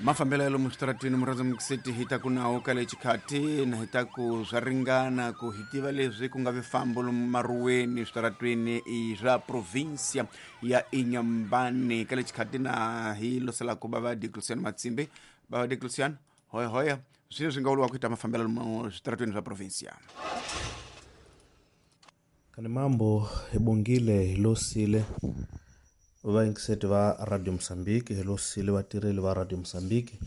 Mafambela ya lomu switarateni murhandza mukiseti hi ta ku nawu ka le xikhati na hi ta ku swa ringana ku hi tiva leswi ku nga vifambo lomu maruweni switaratweni i swa provincia ya Inhambane ka le xikhati na hi loselaku bava Diocleciano Matsimbi. Bava Diocleciano, hoya hoya, swilo swi nga vuriwa ku hi ta mafambela lomu switaratweni swa provincia. Kani mambo hi bongile hi losile vayingiseti va Radio Mozambique, hi losile vatirheli va Radio Mozambique,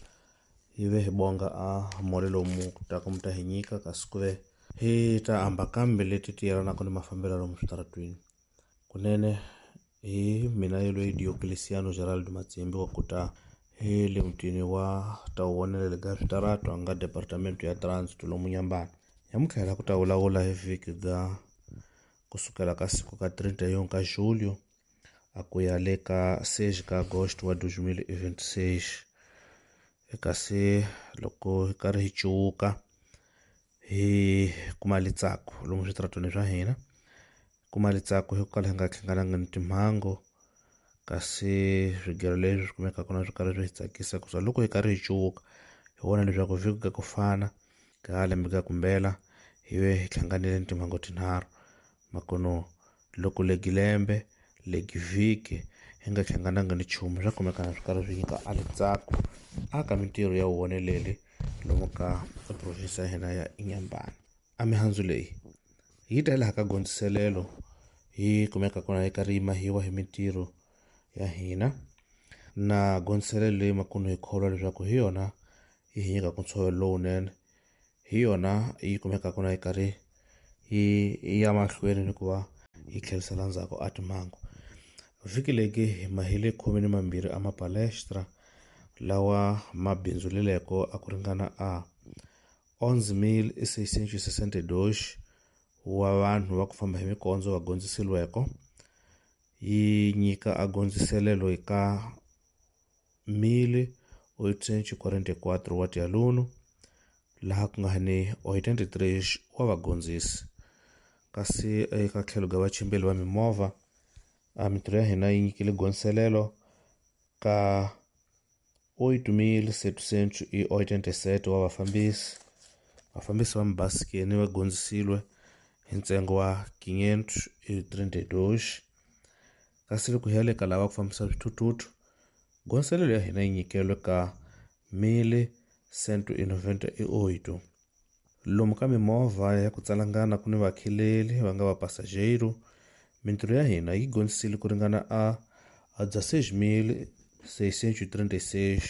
hi ve hi bonga a mole lomu ta ku mi ta hi nyika kasi ku ve hi ta amba kambe leti ti yelanaka ni mafambelo lomu switaratwini. Kunene hi mina yelweyi Diocleciano Geraldo Matsimbi wa ku ta hi le mutini wa Tawonele ga switarato nga departamento ya Transit lomu Nyambana. Nyamuntlha hi la ku ta vulavula hi vhiki ga kusukela ka siku ka 31 ka julho a ku ya le ka 6 ka agosto wa 2026. Kasi loko hi karhi hi cuwuka hi kuma litsako lomu switaratweni swa hina, kuma litsako hi ku kala hi nga hlangananga ni timhangu, kasi swigelo leswi swi kumekaka na swi karhi swi hi tsakisa ku loko hi karhi hi cuwuka hi vona leswaku vhiki ka ku fana ka lembe ka kumbela hi ve hi hlanganile ni timhangu tinharhu. Makono loko legi lembe legi vhiki hi nga hlangananga ni nchumu swa kumeka swi karhi swi nyika a litsako a ka mintirho ya vuwoneleli lomu ka province ya hina ya Inhambane. A mihandzu leyi yi ta laha ka gondziselelo yi kumeka kona yi karhi yi mahiwa hi mintirho ya hina na gondziselelo leyi makunu hi kholwa leswaku hi yona yi hi nyikaka ntshovelo lowunene, hi yona yi kumekaka na yi karhi yi ya mahlweni ni ku va yi tlherisela ndzhaku a timhangu. Vhiki legi hi mahile 12 a mapalestra lawa ma bindzuleleko a ku ringana a 11.662 wa vanhu va ku famba hi mikondzo va gondziseliweko, yi nyika a gondziselelo eka 1.844 wa tialunu laha ku nga ni 83 wa vagondzisi. Kasi eka tlhelo ga vachimbeli va mimovha a mintirho ya hina yi nyikile gondziselelo ka 8.787 wa vafambisi. Vafambisi va mabasikeni va gondzisilwe hi ntsengo wa 532, kasi loko hi ya le ka lava ku fambisa swithuthuthu gondziselelo ya hina yi nyikelwe ka 1.198. Lomu ka mimovha ya ku tsalangana ku ni vakhileli va nga vapasajero, mintirho ya hina yi gondzisile ku ringana a 16.636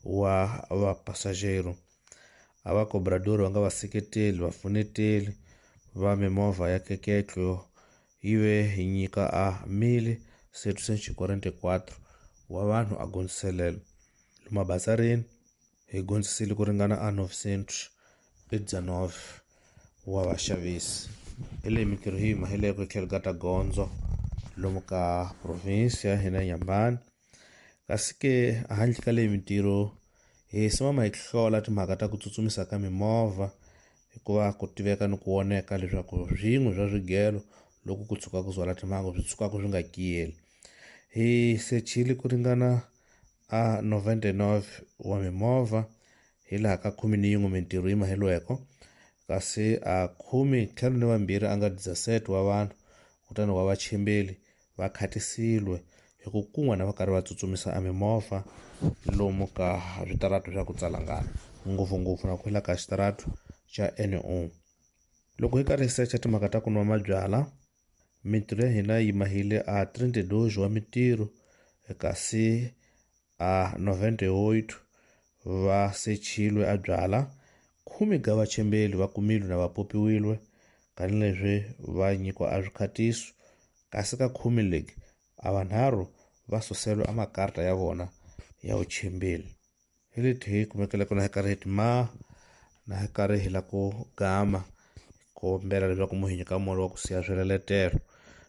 wa vapasajero. A va cobrador va nga vaseketeli vafuneteli va mimovha ya keketlo yi ve hi nyika a 1.744 wa vanhu a gondziselelo. Lomu mabazarini hi gondzisile ku ringana a 919 wa vaxavisi. Hi leyi mintirho hi mahileko hi tlhelo ka ta gondzo lomu ka province ya hina Inhambane. Kasi ke handle ka leyi mintirho hi simama hi hlola timhaka ta ku tsutsumisa ka mimovha, hikuva ku tiveka ni ku voneka leswaku swin'we swa swigelo loko ku tshuka ku zwala timhangu swi tshukaka swi nga kiyeli. Hi sechile ku ringana a 99 wa mimovha hi laha ka 11 mintirho yi maheliweko, kasi a 52 a nga 17 wa vanhu kutani wa vachimbeli va khatisiwe hi ku kun'we na va karhi va tsutsumisa a mimovha lomu ka switarato swa ku tsalangana, ngopfungopfu na ku hela ka xitarato xa N1. Loko hi karhi hi secha timhaka ta ku nwa mabyalwa, mintirho ya hina yi mahile a 32 wa mintirho, kasi a 98 va sechilwe a byala, 10 ga vachimbeli va kumilwe na va popiwilwe kanileswi va nyikiwa a swikhatiso, kasi ka 10 legi a vanharhu va suselwe a makarta ya vona ya vuchimbeli. Hi leti hi kumekele kona hi karhi hi tima na hi karhi hi la ku gama kombela leswaku mu hi nyika moya wa ku siya swileletelo.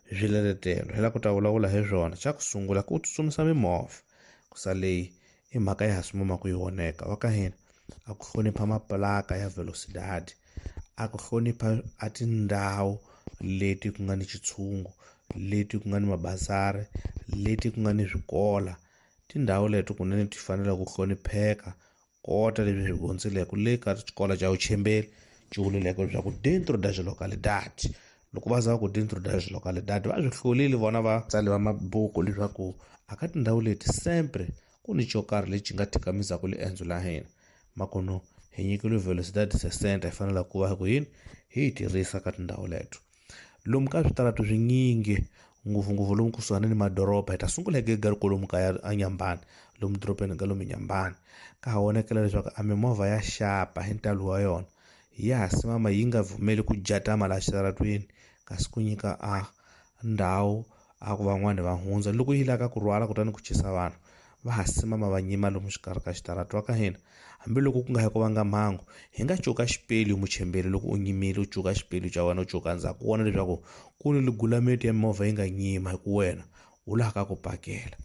Swileletelo hi la ku ta vulavula hi swona. Xa ku sungula ku tsutsumisa mimovha, ku sa leyi i mhaka ya ha simama ku yi voneka wa ka hina a ku hlonipha maplaka ya velocidade, a ku hlonipha a tindhawu leti ku nga ni xitshungu, leti ku nga ni mabazari, leti ku nga ni swikola. Tindhawu leto kunene ti fanele ku hlonipheka kota leswi swi gondzileke le ka xikolo xa vuchembeli ci vulileke leswaku dentro das localidade. Loko va za ku dentro das localidade va swi hlulile vona vatsali va mabuku leswaku a ka tindhawu leti sempre ku ni xo karhi lexi nga thikamizaka liendzo la hina. Makono hi nyikile velocidade 60 hi fanele ku va ku yini hi yi tirhisa ka tindhawu leto. Lomu ka switaratu swinyingi ngopfungopfu lomu kusuhani ni madoroba, hi ta sungula hi gega kolomu ka a Nyambani, lomu dorobeni ka lomu Nyambani ka ha vonakela leswaku a mimovha ya xapa hi ntalo wa yona ya ha simama yi nga pfumeli ku jatama laha xitaratweni, kasi ku nyika a ndhawu a ku van'wani va hundza loko yi lava ku rhwala kutani ku chisa vanhu va ha simama va nyima lomu xikarhi ka xitaratu wa ka hina. Hambiloko ku nga hi ku vanga mhangu, hi nga cuka xipelu muchembeli loko u nyimile u cuka xipelu xa wena u cuka ndzhaku u vona leswaku ku ni ligulameti ya mimovha yi nga nyima hi ku wena u laha ka ku pakela.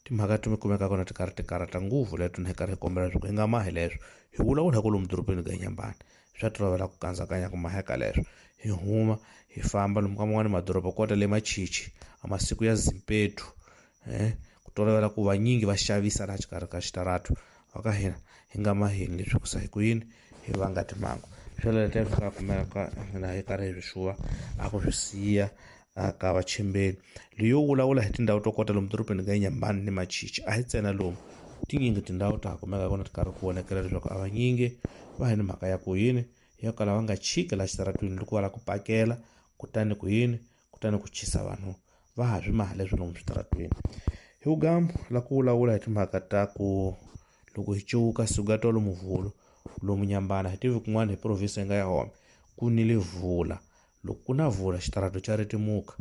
Timhaka ti kumeka kona ti karhi ti karhata ngopfu leto ni hi karhi hi kombela leswaku hi nga mahi leswo hi vulavula hi ku lomu dorobeni ka Nyambani swa tolovela ku kandzakanya ku maheka leswo. Hi huma hi famba lomu ka man'wani madoroba kota le Machichi a masiku ya Zimpetu, ku tolovela ku vanyingi va xavisa laha xikarhi ka xitaratu wa ka hina hi nga maheni leswi ku sa hi ku yini hi vanga timhangu. Swoleswo swi nga kumeka na hi karhi hi swi xuva a ku swi siya ka vachembeli. Leyo vulavula hi tindhawu to kota lomu dorobeni ka Nyambani ni Machichi a hi ntsena lomu, tinyingi tindhawu ta ha kumeka kona ti karhi ku vonakela leswaku a vanyingi va hi ni mhaka ya ku yini ya kala va nga chiki laha xitaratwini loko va lava ku pakela kutani ku yini kutani ku chisa vanhu va ha swi maha leswi lomu switaratwini. Hi vugambu la ku vulavula hi timhaka ta ku loko hi cuka suka tolo Muvhulu lomu Nyambana hi tivi kun'wana hi province yi nga ya home ku nile vula. Loko ku na vula xitarato xa ritimuka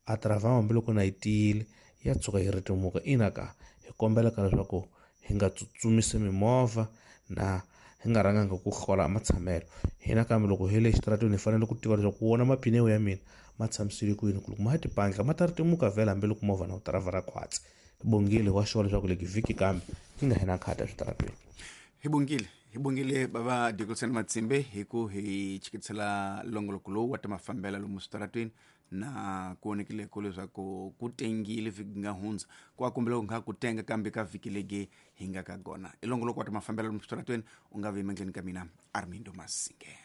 a travama hambiloko na yi tiyile ya tshuka yi ritimuka. Ina ka hi kombela ka leswaku hi nga tsutsumisi mimovha na hi nga rhanganga ku hlola matshamelo hina, kambe loko hi le xitaratweni hi fanele ku tiva leswaku wona mapineo ya mina ma tshamisile ku yini, ku loko ma tipandla ma ta ritimuka vhela hambiloko movha na wu tiravha khwatsi. Bongile wa xona leswaku leki vhiki kambe yi nga hina khata eswitaratweni. Hi bongile bava Dikilson Matsimbe hi ku hi chikisela longoloko lowu wa ta mafambela lomu switaratweni na ku vonekile ku leswaku ku tengile vhiki nga hundza ku a kombela ku nga ku tenga kambe ka vhiki legi hi nga ka gona. I longoloko wa ta mafambela lomu switaratweni u nga vi emandleni ka mina Armindo Masinge.